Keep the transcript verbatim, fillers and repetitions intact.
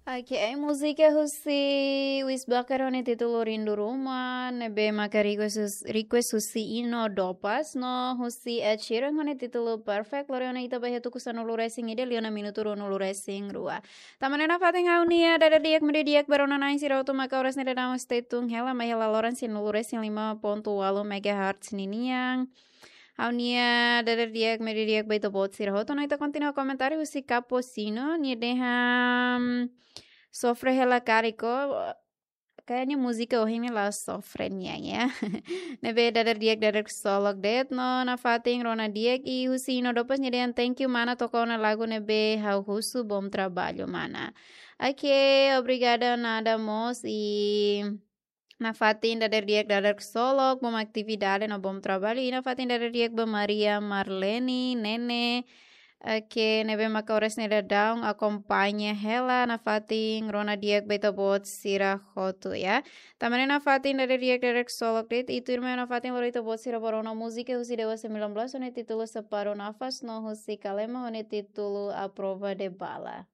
Oke, múzika husi Wisbaker ho nia títulu Rindu Ruma, ne'ebé maka request hus-, request husi Ino Dopas, no husi Ed Sheeran ho nia títulu Perfect, lori ona ita ba iha tuku sanulu-resin-ida liu ona minutu ruanulu-resin-rua. Tanba ne'e nafatin ha'u-nia dada di'ak media di'ak ba rona-na'in sira hotu maka oras ne'e daudaun stay tune hela, mai hela loron sanulu-resin-lima pontu ualu megahertz ninian. Ha'u-nia dada di'ak media di'ak ba ita-boot sira hotu, no ita kontinua komentáriu husi Capucino, nia dehan sofre hela karik ó, kayaknya múzika ohin ne'e la sofre nian ya. Ne'ebé dada di'ak dada ksolok de'it, no nafatin rona di'ak, i husi Ino Dopas nia dehan thank you mana toka ona lagu ne'ebé ha'u husu, bom trabalho mana. Oke, obrigada nada mós, i nafatin dada di'ak dada ksolok, bom atividade no bom trabalho, i nafatin dada di'ak ba Maria Marlene, Nene, oke, ne'ebé maka oras ne'e daudaun akompaña hela, nafatin rona di'ak ba ita-boot sira hotu ya. Tanba ne'e nafatin dada di'ak dada ksolok de'it, i tuirmai nafatin lori ita-boot sira ba rona múzika husi Dewa sembilan belas ho nia títulu Separuh Nafas, no husi Kalema ho nia títulu A Prova de Bala.